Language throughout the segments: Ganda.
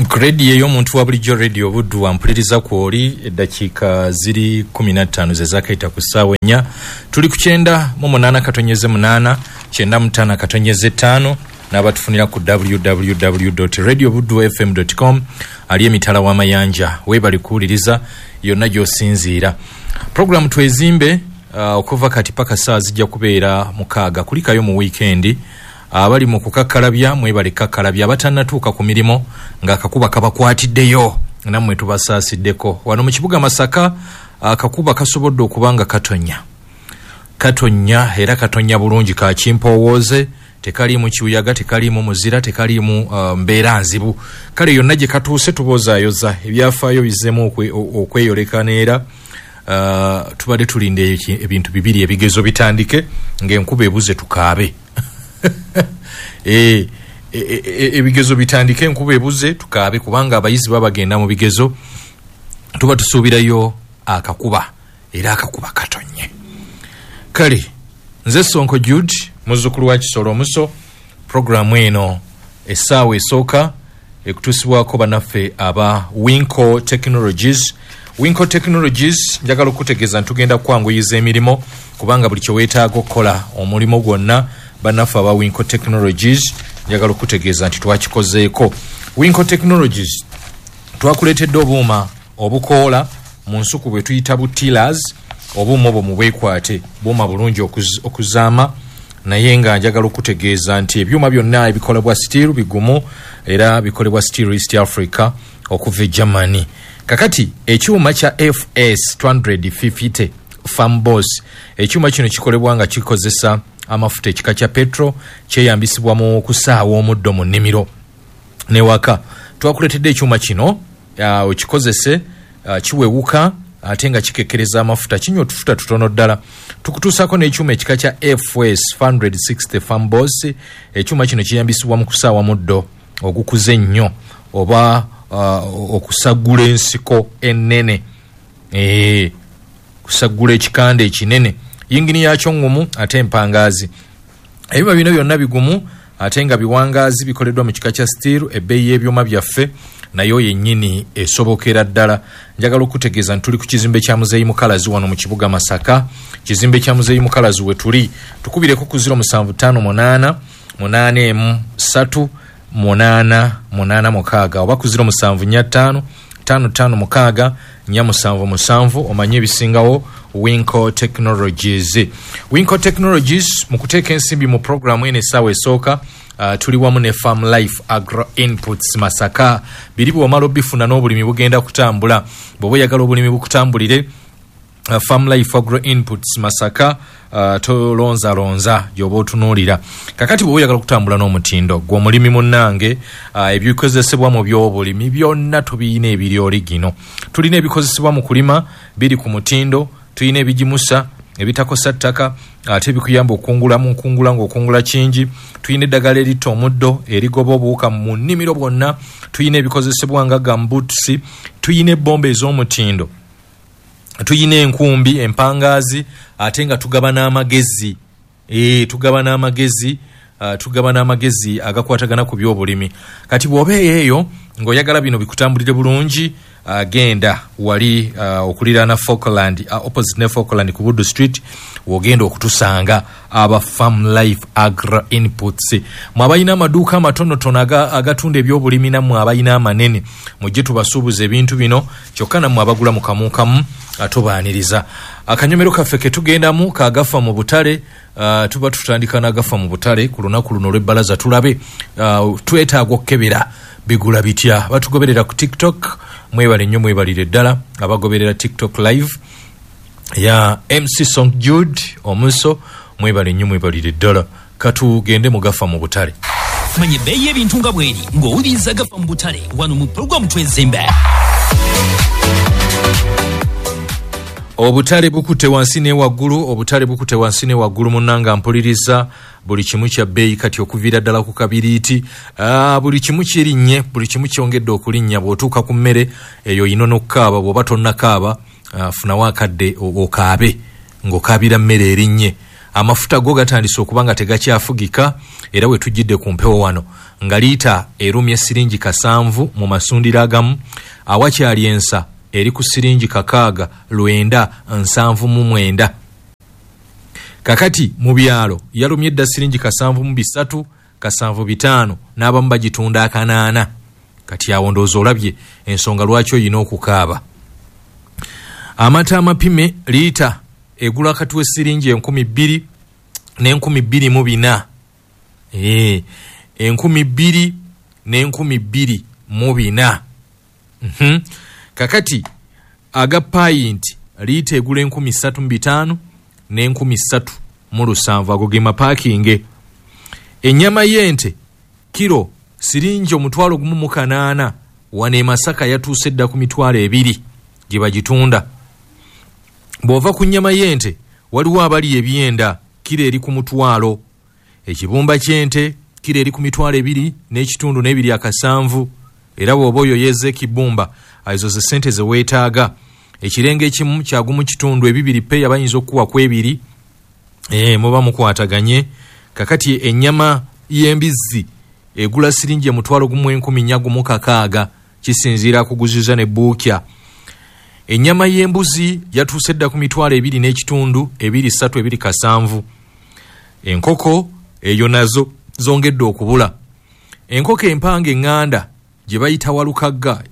Ku rediyo ey'omuntu wa bulijjo, Rediyo Buddu, wampuliriza kwoli. Eddakiika ziri 15 ze zakayita ku ssaawa 4. Tuli ku 98.8, 95.5, n'abatufunira ku www radio buddu fm com. Ali emitala w'amayanja, weebali kuwuliriza yonna gy'osinziira. Puroguramu Twezimbe, okuva kati paka saa zijja kubeera 6. Kulikayo mu wiikendi. Abali mu kukakkalabya, mwebale kakkalabya. Abatannatuuka ku mirimu ng'akakuba kabakwatiddeyo, nammwe tubasaasiddeko. Wano mu kibuga Masaka akakuba kasobodde okuba nga katonya, katonya era katonya bulungi, kakimpowooze, tekaliimu kibuyaga, tekaliimu muzira, tekaliimu mbeera nzibu. Kale yonna gye katuuse tuboozaayoza, ebyafaayo bizzeemu okweyoleka neera. Tubadde tulinda ebintu bibiri: ebigezo bitandike ng'enkuba ebuze tukaabe. Ebigezo bitandike enkuba ebuze tukaabe, kubanga abayizi baba bagenda mu bigezo, tuba tusuubirayo akakuba, era akakuba katonye. Kale nze Sonko Jude, muzzukulu wa Kisolo Omuso. Puroguramu eno essaawa esooka ekutuusibwako bannaffe aba Winco Technologies. Winco Technologies, njagala okutegeeza nti tugenda kukwanguyiza emirimu, kubanga buli kyeweetaaga okukola omulimu gwonna, bannaffe aba Winco Technologies, njagala okutegeeza nti twakikozeeko. Winco Technologies twakuleetedde obuuma obukoola mu nsuku bwe tuyita bu tillers. Obuuma obwo mubwekwate, buuma bulungi okuzaama, naye nga njagala okutegeeza nti ebyuma byonna ebikolebwa Stihl bigumu, era bikolebwa Stihl East Africa okuva e Germany. Kakati ekyuma kya FS 250 Farm Boss, ekyuma kino kikolebwa nga kikozesa amafuta ekika kya petrol, kyeyambisibwa mu kusaawa omuddo mu nnimiro newaka. Twakuleetedde ekyuma kino okikozese, kiwewuka ate nga kikekkereza amafuta, kinywa otufuta tutono ddala. Tukutuusako n'ekyuma ekika kya FS 160 Farm Boss. Ekyuma kino kiyambisibwa mu kusaawa muddo ogukuze ennyo oba okusaggula ensiko ennene, kusaggula ekikanda ekinene. Yingini yakyo ŋŋumu ate empangaazi. Ebyuma bino byonna bigumu ate nga biwangaazi, bikoleddwa mu kika kya steel. Ebbeeyi y'ebyuma byaffe nayo yennyini esobokera ddala. Njagala okutegeeza nti tuli ku kizimbe kya Muzeeyi Mukalazi wano mu kibuga Masaka. Kizimbe kya Muzeeyi Mukalazi we tuli. Tukubireko ku 0758 813 886 oba ku 0745 556 477, omanye ebisingawo. Winco Technologies, Winco Technologies mu kuteeka ensimbi mu puroguramu eno essaawa esooka, tuli wamu ne Farm Life Agro Inputs Masaka. Biri bw'omala obifuna n'obulimi bugenda kutambula. Bw'oba oyagala obulimi bukutambulire, Farm Life Agro Inputs Masaka, tolonzalonza gy'oba otunuulira. Kakati bw'oba oyagala okutambula n'omutindo, gwe omulimi munnange, ebikozesebwa mu byobulimi byonna tubiyina ebiri origino. Tulina ebikozesebwa mu kulima biri ku mutindo, tulina ebigimusa ebitakosa ttaka ate bikuyamba okukungula mu nkungula ng'okungula kingi. Tulina eddagala eritta omuddo, erigoba obuwuka mu nnimiro bwonna. Tulina ebikozesebwa nga gumboots, tulina ebbomba ez'omutindo, tulina enkumbi empangaazi, ate nga tugaba n'amagezi, tugaba n'amagezi, tugaba n'amagezi agakwatagana ku byobulimi. Kati bw'oba eyo ng'oyagala bino bikutambulire bulungi, genda wali okuliraana Falkland, opposite ne Falkland ku Buddu Street, wogenda okutusanga aba Farm Life Agro Inputs. Mwe abalina amaduuka amatonotono agatunda ebyobulimi, nammwe abalina amanene, mujje tubasuubuza ebintu bino. Kyokka nammwe abagula mu kamukamu, atubaaniriza. Akanyomero kaffe ketugendamu kagafa mu butale. Tuba tutandika n'agafa mu butale ku lunaku luno olw'ebbalaza. Tulabe, twetaaga okukebera bigula bitya. Batugoberera ku TikTok, mwebale nnyo, mwebalire ddala abagoberera TikTok live ya MC Song Jude Omuso. Mwebale nnyo, mwebalire ddala. Katugende mugafa mu butale. Manya ebbeeyi y'ebintu nga bweri ng'owuliriza Gafa mu butale wano mu pulogulaamu Twezimbe. Obutale bukute wansi ne waggulu, obutale bukute wansi ne waggulu. Munnanga mpuliriza, buli kimu kya bbeeyi kati, okuviira ddala ku kabiriiti. Buli kimu kirinnye, buli kimu kyongedde okulinnya. Bw'otuuka ku mmere eyo oyina n'okukaaba. Bw'oba tonnakaaba, funawo akadde okaabe ng'okaabira mmere erinnye. Amafuta go gatandise okuba nga tegakyafugika, era we tujjidde ku mpewo wano nga liita erumye siringi 7 mu masundiro agamu, awakyali ensa eri ku siringi 6 979. Kakati mu byalo yalumye dda siringi 73, 75, n'abamu bagitunda 8. Kati awo ndowooza olabye ensonga lwaki oyina okukaaba. Amata amapime liita egula wakati w'essiringi 2000 ne 2400. 2000 ne 2400. Kakati aga payinti liita egula 3500 ne 3700, ago ge mapaakinge. Ennyama y'ente kiro siringi 1,800, wano e Masaka yatuuse dda ku 20,000 gye bagitunda. Bw'ova ku nnyama y'ente waliwo abali ebyenda, kiro eri ku 1,000. Ekibumba ky'ente kiro eri ku 2,500 n'ebitundu 2.7, era bw'oba oyo yeeza ekibumba ezo ze ssente ze weetaaga. Ekirenge ekimu kya 1.2, 2 peya bayinza okukuwa ku 2, muba mukwataganye. Kakati ennyama y'embizzi egula siringi 1,460, kisinziira kuguziza ne buukya. Ennyama y'embuzi yatuuse dda ku 2,500, 2,300, 2,700. Enkoko eyo nazo zongedde okubula. Enkoko empanga eŋŋanda gye bayita walukagga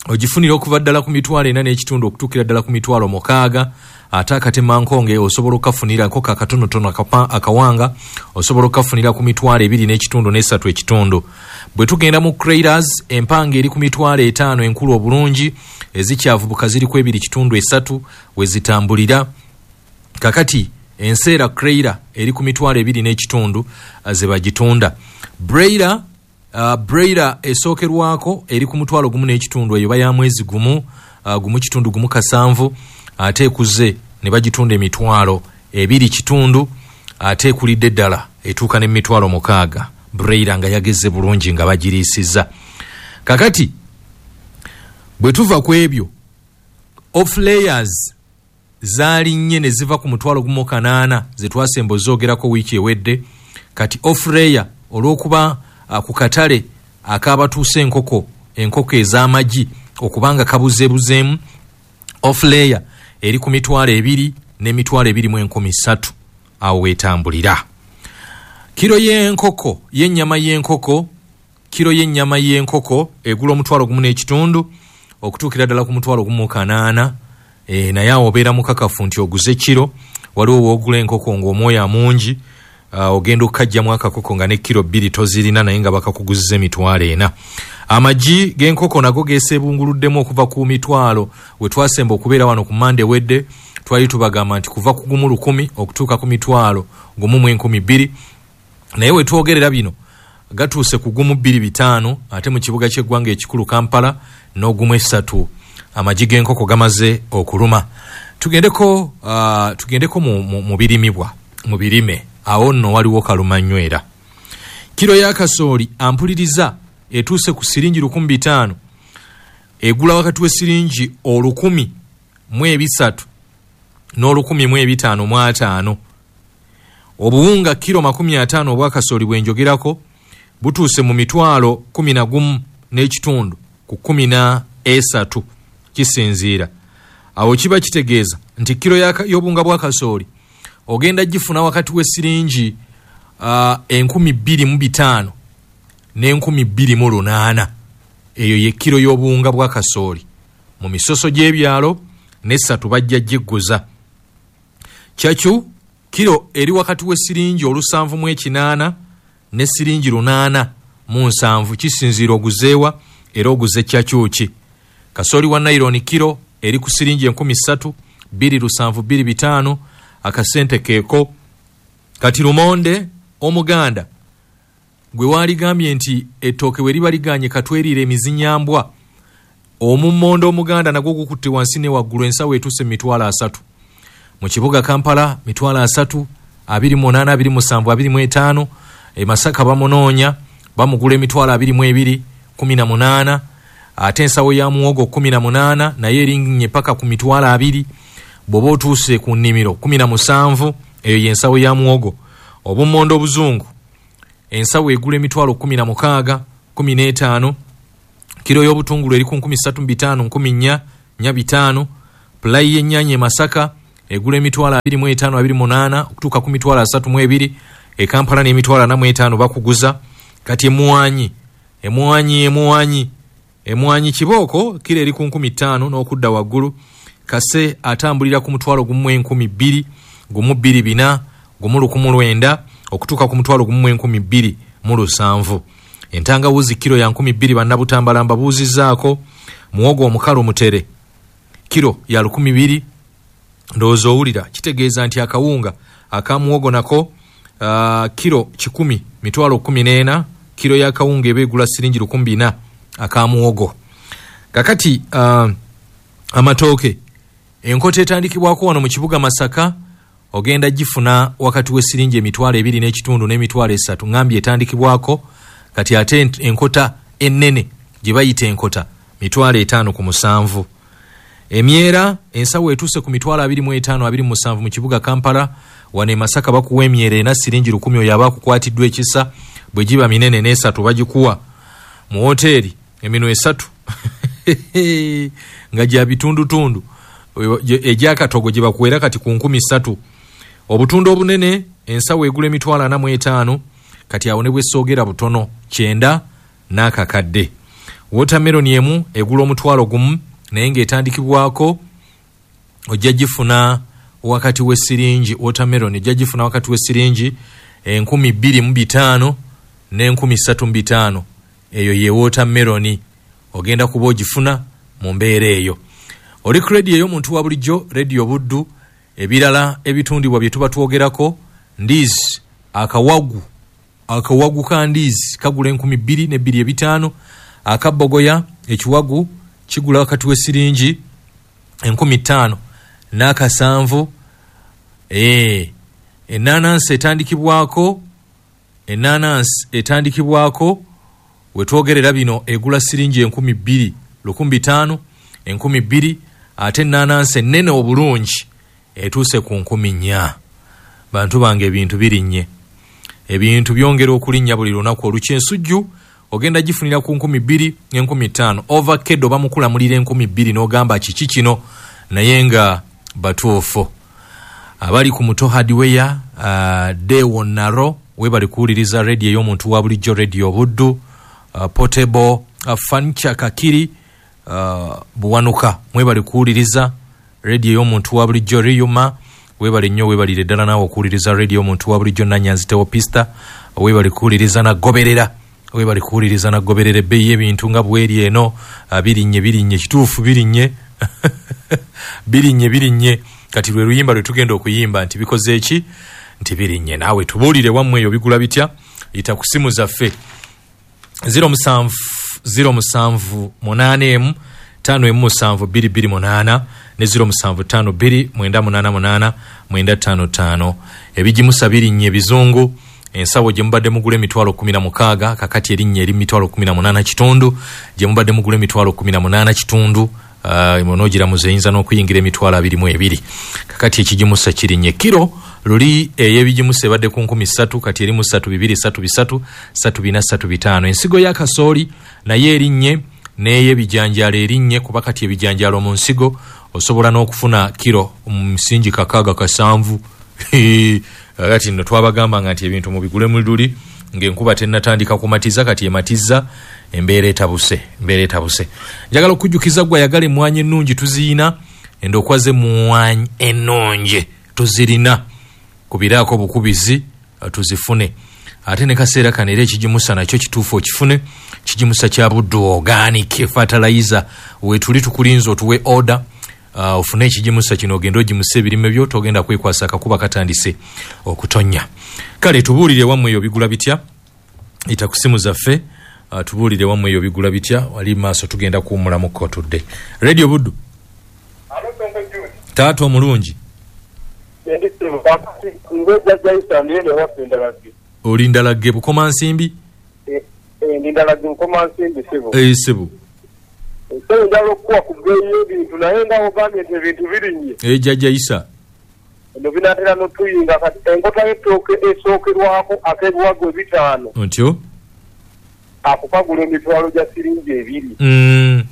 ogifunira okuva ddala ku 4,500 okutuukira ddala ku 6,000. Ate akatemankonge osobola okukafunira, enkoko akatonotono akawanga osobola okukafunira ku 2,500 ne 3,500. Bwe tugenda mu Crailers, empanga eri ku 5,000 enkulu obulungi, ezikyavubuka ziri ku 2,300 we zitambulira. Kakati enseera Crailer eri ku 2,500 ze bagitunda. Braila esookerwako eri ku 1,500, eyo baya mwezi gumu, 1.17, ate ekuze ne bagitunda 2,500, ate ekulidde ddala etuuka ne 6,000. Braila nga yageze bulungi nga bagiriisizza. Kakati bwe tuva ku ebyo, off layers zaalinnye ne ziva ku 1,800 ze twasemba ozoogerako wiiki ewedde. Kati off layer olw'okuba ku katale akabatuuse enkoko, enkoko ez'amagi okubanga kabuzeebuzeemu, off layer eri ku 2,000 ne 2,300, awo weetambulira. Kiro y'enkoko y'ennyama y'enkoko, kiro y'ennyama y'enkoko egula 1,500 okutuukira ddala ku 1,800. Naye awo obeera mukakafu nti oguze kiro. Waliwo woogula enkoko ng'omwoya mungi, ogenda okukajjamu akakoko nga ne kiro 2 tozirina, naye nga bakakuguziza 4,000. Amagi g'enkoko nago geeseebunguluddemu okuva ku 1,000 we twasemba okubeera wano ku Mande wedde. Twali tubagamba nti kuva ku 1,000 okutuuka ku 1,200, naye we twogerera bino gatuuse ku 1,250, ate mu kibuga ky'eggwanga ekikulu Kampala n'ogumu 3. Amagi g'enkoko gamaze okuluma. Tugendeko mu birimibwa, mu birime. Awo nno waliwo kalumanywera. Kiro ya kasooli ampuliriza etuuse ku siringi 1,500, egula wakati w'esiringi 1,300 n'1,550. Obuwunga kiro 50 obwa kasooli bwe njogerako butuuse mu 11,500 ku 13, kisinziira. Awo kiba kitegeeza nti kiro y'obunga bwa kasooli ogenda gifuna wakati w'esiringi 2,500 ne 2,800. Eyo ye kiro y'obuwunga bwa kasooli. Mu misoso gy'ebyalo ne 3 bajja gigguza. Kyakyu kiro eri wakati w'esiringi 780 ne siringi 807, kisinziira oguzeewa era oguze kyakyuki. Kasooli wa nayironi kiro eri ku siringi 3,000, 2,700, 2,500, akasente keeko. Kati lumonde omuganda gwe waaligambye nti ettooke we liba liganye katwerire emizinyambwa, omummonde omuganda nagwo gukutte wansi ne waggulu, ensawo etuuse 30,000. Mu kibuga Kampala 30,000, 28, 27, 25. E Masaka bamunoonya bamugula 22,000, 18. Ate ensawo ya muwogo 18 naye erinnye paka ku 20,000. Bw'oba otuuse ku nnimiro 17. Eyo y'ensawo ya muwogo. Obummonde obuzungu ensawo egula emitwalo 16, 15. Kiro y'obutungulu eri ku 3500, 1400, 500. Pulayi y'ennyaanya e Masaka egula emitwalo 25, 28 okutuuka ku mitwalo 32. E Kampala n'emitwalo 45 bakuguza. Kati emwanyi kibooko kiro eri ku 5000 n'okudda waggulu. Kase atambulira ku mutwalo 1200, 2400, 1900 okutuuka ku mutwalo 1207. Entangawuzi kiro ya 2000 bannabutambala mbabuuzizzaako. Muwogo omukalu mutere kiro ya 2000. Ndowooza owulira, kitegeeza nti akawunga akamuwogo nako kiro 100 mitwalo 14. Kiro y'akawunga eba egula siringi 1400 akamuwogo. Kakati amatooke enkota etandikibwako wano mu kibuga Masaka ogenda gifuna wakati w'esiringi emitwalo 2.5 n'emitwalo 3. Ngambye etandikibwako. Kati ate enkota ennene gye bayita enkota mitwalo 5 ku 7. Emyera ensawo etuuse ku mitwalo 25, 27 mu kibuga Kampala. Wano e Masaka bakuwa emyera ena siringi 1000. Oyo aba akukwatiddwa ekisa, bwe giba minene n'esatu bagikuwa. Mu woteeri eminwe 3 nga gya bitundutundu egyakatogo gye bakuwera kati ku 3000. Obutundu obunene ensawo egula emitwalo 45. Kati awo ne bwesoogera butono 90 n'akakadde. Watermelon emu egula 1,000, naye ng'etandikibwako ojja gifuna wakati w'esiringi, watermelon ojja gifuna wakati w'esiringi 2500 ne 3500. Eyo ye watermelon ogenda kuba ogifuna mu mbeera eyo. Oli ku rediyo ey'omuntu wa bulijjo, rediyo Buddu. Ebirala ebitundibwa bye tuba twogerako, ndizi akawagu ka ndizi kagula 2500. Akabogoya ekiwagu kigula wakati w'esiringi 5000 n'akasanvu. Enanansi etandikibwako wetwogerera bino egula siringi 2000, 1500, 2000. Ate enanansi ennene obulungi etuuse ku 4000. Bantu bange ebintu birinnye, ebintu byongera okulinnya buli lunaku. Olukyensujju ogenda gifunira ku 2000 ne 5000. Ovakado bamukulamulira 2000 n'ogamba kiki kino, naye nga batuufu. Abali ku Muto Hardware, Dewo Naro webali kuwuliriza rediyo ey'omuntu wa bulijjo, rediyo Buddu. Portable Furniture Kakiri, Buwanuka mwebali kuwuliriza rediyo ey'omuntu wa bulijjo. Riyuma webali nnyo, webalire ddala naawe okuwuliriza rediyo ey'omuntu wa bulijjo. Nanyanzi Teopista webali kuwuliriza nagoberera, webali kuwuliriza nagoberera. Ebbeeyi y'ebintu nga bweri eno, birinnye birinnye, kituufu birinnye birinnye birinnye. Kati lwe luyimba lwe tugenda okuyimba nti bikoze eki, nti birinnye. Naawe tubuulire wammwe eyo bigula bitya. Yita ku simu zaffe 07 07 8 5 7 2 2 8 ne 07 5 2 9 8 8 9 5. Ebigimusa birinnye ebizungu. Ensawo gye mubadde mugula emitwalo 16 kakati erinnya eri mitwalo 18 kitundu. Gye mubadde mugula emitwalo 18 kitundu onogiramuza eyinza n'okuyingira emitwalo 22. Kakati ekigimusa kirinnye. Kiro luli ey'ebigimusa ebadde ku 3000, kati eri mu 3 2 3 3 3 4 3 5. Ensigo ya kasooli naye erinnye, n'ey'ebijanjaalo erinnye, kuba kati ebijanjaalo mu nsigo osobola n'okufuna kiro mu misingi 6 7. Kati nno twabagambanga nti ebintu mubigule mu luli ng'enkuba tennatandika kumatiza. Kati ematiza, embeera etabuse, embeera etabuse. Njagala okujjukiza gwe ayagala emmwanyi ennungi, tuziyina. Endokwa z'emmwanyi ennungi tuzirina, kubiraako bukubizi tuzifune. Ate ne kaseera kano era ekigimusa nakyo kituufu okifune. Kigimusa kya Buddu organic fertilizer. Wetuli tukulinza otuwe order, ofune ekigimusa kino ogende ogimusa ebirime byo, togenda kwekwasa akakuba katandise okutonnya. Kale tubuulire wammwe eyo bigula bitya. Ita ku simu zaffe, tubuulire wammwe eyo bigula bitya. Wali maaso tugenda kuwummulamuko tudde. Radio Buddu, taata omulungi. Oli Ndalagge Bukomansimbi? Ndi Ndalagge Bukomansimbi sebo. Sebo. Sebo njagala okukuwa ku bbeeyi y'ebintu, naye nga ogambye nti ebintu birinnye. Jjajja Isa. Eno binaatera n'otuyinga kati enkota y'ettooke esookerwako ak'ebiwago 5. Otyo? Akukagula emitwalo gya siringi 2.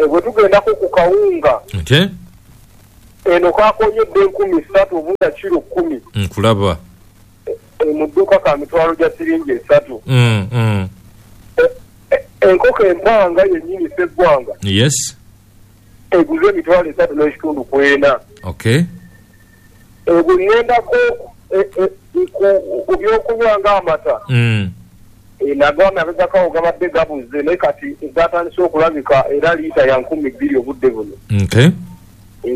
Bwe tugendako ku kawunga. Okay. Eno kakonyedde 3,000 obunga kiro 10. Nkulaba. Mu dduuka ka mitwalo gya siringi 3. Enkoko empanga yennyini sseggwanga. Yes. Eguze emitwalo 3.5. Okay. Bwe ŋŋendako ku byokunywa ng'amata. Nago amabegako gabadde gabuze naye kati gatandise okulabika era liita ya 2,000 obudde buno. Okay.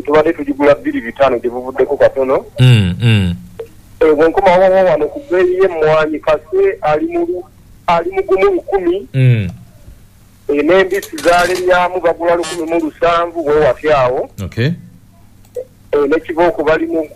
Tubadde tugigula 2,500 gye buvuddeko katono. Bwe nkomawo wano ku bbeeyi y'emmwanyi kase ali mu 1,000. N'embisi zaalemyamu bagula 1,700 bwe awo. Okay. N'ekibooko bali mu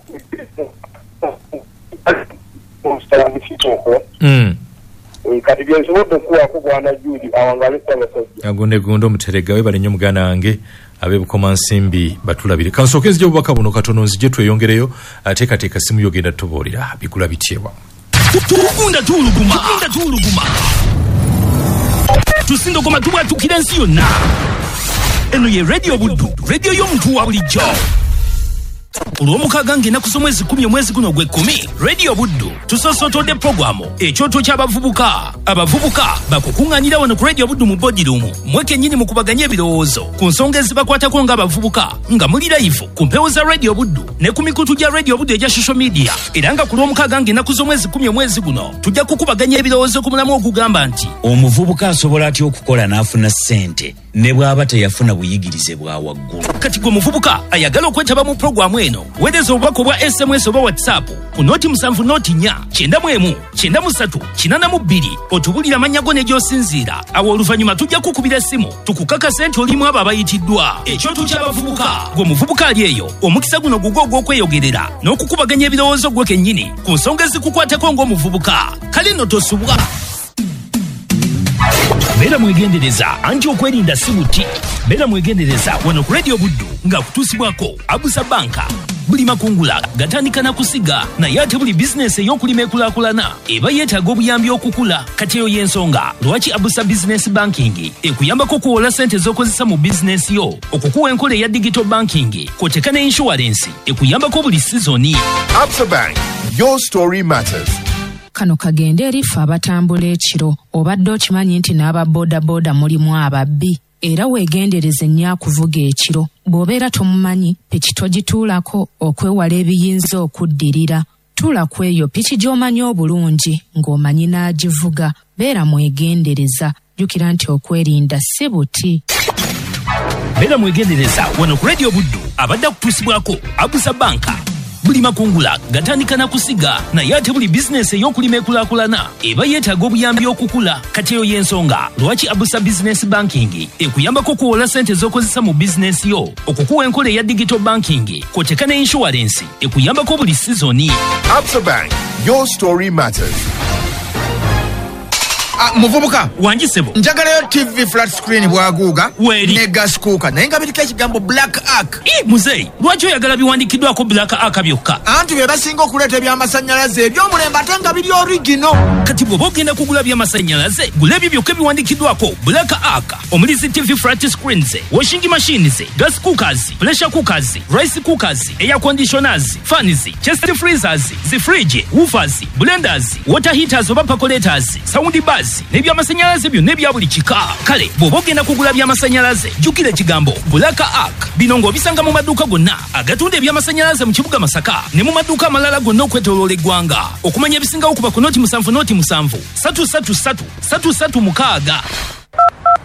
kati bye nsobodde okuwaako Bwana Jude awangale Ssaabasajja. Agonde gondo omuterega webale nnyo muganda wange ab'e Bukomansimbi batulabire. Kansooke nzije obubaka buno katono nzije tweyongereyo ateekateeka simu yogenda tubuulira bigula bityewa. Tugunda tuuluguma. Tugunda tuuluguma. Tusindogoma tubwatukira ensi yonna. Eno ye Radio Buddu, radio y'omuntu wa bulijjo. Olw'omukaaga ng'ennaku z'omwezi 10 omwezi guno ogw'ekkumi, Radio Buddu tusoosotodde pulogulaamu ekyoto ky'abavubuka. Abavubuka bakukuŋŋaanira wano ku Radio Buddu mu boardroom mmwe kennyini mukubaganye ebirowoozo ku nsonga ezibakwatako ng'abavubuka nga muli live ku mpewo za Radio Buddu ne ku mikutu gya Radio Buddu egya social media. Era nga ku lw'omukaaga ng'ennaku z'omwezi 10 omwezi guno tujja kukubaganya ebirowoozo ku mulamu ogugamba nti omuvubuka asobola atya okukola n'afuna ssente ne bw'aba teyafuna buyigirize bwa waggulu. Kati gwe muvubuka ayagala okwetaba mu pulogulaamu eno, weereza obubaka obwa SMS oba WhatsApp ku 07 04 91 93 82 otubulire amannya go ne gy'osinziira. Awo oluvannyuma tujja kukubira essimu tukukakase nti olimu abo abayitiddwa. Ekyoto ky'abavubuka. Gwe muvubuka ali eyo, omukisa guno gugwo ogw'okweyogerera n'okukubaganya ebirowoozo gwe kennyini ku nsonga ezikukwatako ng'omuvubuka. Kale nno tosubwa. Beera mwegendereza anti okwerinda si buti. Beera mwegendereza wano ku Radio Buddu nga kutuusibwako Abusa Banka. Buli makungula gatandika na kusiga naye ate buli bizinesi ey'okulima ekulaakulana eba yeetaaga obuyambi okukula. Kati eyo y'ensonga lwaki Abusa Business Banking ekuyambako okuwola ssente z'okozesa mu bizinesi yo, okukuwa enkola eya digital banking kw'oteeka ne insurance ekuyambako buli sizoni. Absa Bank, your story matters. Kano kagende eri ffe abatambula ekiro. Obadde okimanyi nti n'aba boodabooda mulimu ababbi? Era weegendereze nnyo akuvuga ekiro. Bw'obeera tomumanyi, piki togituulako okwewala ebiyinza okuddirira. Tuula ku eyo piki gy'omanyi obulungi ng'omanyi n'agivuga. Beera mwegendereza. Jjukira nti okwerinda si buti. Beera mwegendereza wano ku Radio Buddu abadde akutuusibwako Abusa Banka. Buli makungula gatandika na kusiga naye ate buli bizinesi ey'okulima ekulaakulana eba yeetaaga obuyambi okukula. Kati eyo y'ensonga lwaki Abusa Business Banking ekuyambako okuwola ssente z'okozesa mu bizinesi yo, okukuwa enkola eya digital banking kw'oteeka ne insurance ekuyambako buli sizoni. Absa Bank, your story matters. Muvubuka wangi ssebo, njagalayo TV flat screen bwaguuga ne gas cooker naye nga biriko ekigambo Black Ark. Muzeeyi, lwaki oyagala biwandiikiddwako Black Ark byokka? Anti be basinga okuleeta ebyamasannyalaze eby'omulembe ate nga biri original. Kati bw'oba ogenda kugula byamasannyalaze, gula ebyo byokka ebiwandiikiddwako Black Ark omuli zi TV flat screens, washing machines, gas cookers, pressure cookers, rice cookers, air conditioners, fans, chest freezers, zi fridge, woofers, blenders, water heaters oba percolators, sound bars n'ebyamasannyalaze byonna ebya buli kika. Kale bw'oba ogenda kugula byamasannyalaze, jjukira ekigambo Black Ark. Bino ng'obisanga mu maduuka gonna agatunda ebyamasannyalaze mu kibuga Masaka ne mu maduuka amalala gonna okwetooloola eggwanga. Okumanya ebisingawo kuba ku 07 07 333 336.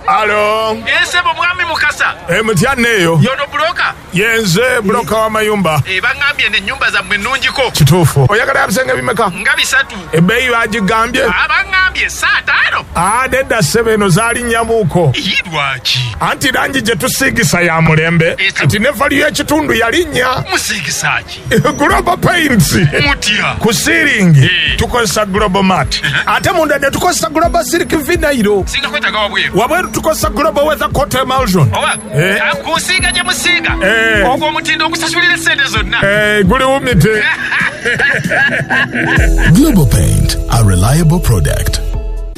Alo. Esebo mwami Mukasa. Mutya eyo. Yono broker. Yenze broker wa mayumba. Bangambye n'ennyumba zammwe nnungiko. Kituufu. Oyagala ebisenge bimeka? Nga 3. Ebbeeyi bagigambye. Bangambye 5. Nedda ssebo, eno zaali nnyamuuko. Lwaki? Anti langi gye tusiigisa ya mulembe. Kati ne value y'ekitundu yalinnya. Musiigisa ki? Global Paints. Mutya. Ku siiringi tukozesa Global Mat. Ate munda ne tukozesa Global Silk Vinyl. Singa kwetaaga wabweru. Wabweru Tukozesa Global Weather Coat Emulsion. Oba kusiiga gye musiiga, ogwo omutindo ogusasulira essente zonna. Guliwumite. Global Paint, a reliable product.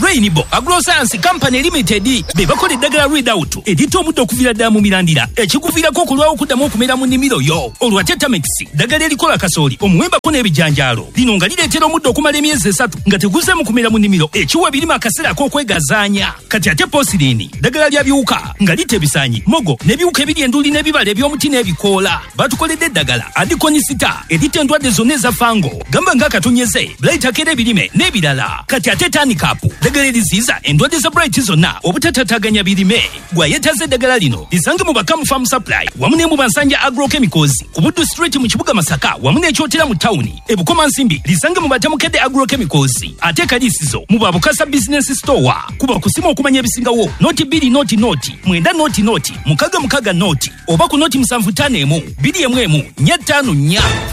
Rainbow Agroscience Company Limited be bakola eddagala Readout eritta omuddo okuviira ddala mu mirandira, ekikuviirako okulwawo okuddamu okumera mu nnimiro yo. Olwo ate Tamex, ddagala erikola kasooli, omuwembako n'ebijanjaalo, lino nga lireetera omuddo okumala emyezi 3 nga teguzeemu kumera mu nnimiro, ekiwa ebirime akaseera ak'okwegazaanya. Kati ate Posirini, ddagala lya biwuka nga litta ebisaanyi, mogo n'ebiwuka ebiri enduli n'ebibala eby'omuti n'ebikoola. Batukoledde eddagala Adikonisita eritta endwadde zonna eza fango, gamba ng'akatonyeze, blight akera ebirime n'ebirala. Kati ate Tanikapu, ddagala eriziyiza endwadde za blight zonna obutatataganya birime. Gwayetaze eddagala lino lisange mu Bakamu Farm Supply wamu ne mu Bansanja Agrochemicals ku Buddu Street mu kibuga Masaka, wamu n'Ekyotera mu tawuni. E Bukomansimbi lisange mu Batamukedde Agrochemicals, ate Kalisizo mu Babukasa Business Store. Kuba kusima okumanya ebisingawo 0 2 0 0 9 0 0 6 6 0 oba ku 0 7 5 1 2 1 1 5 4.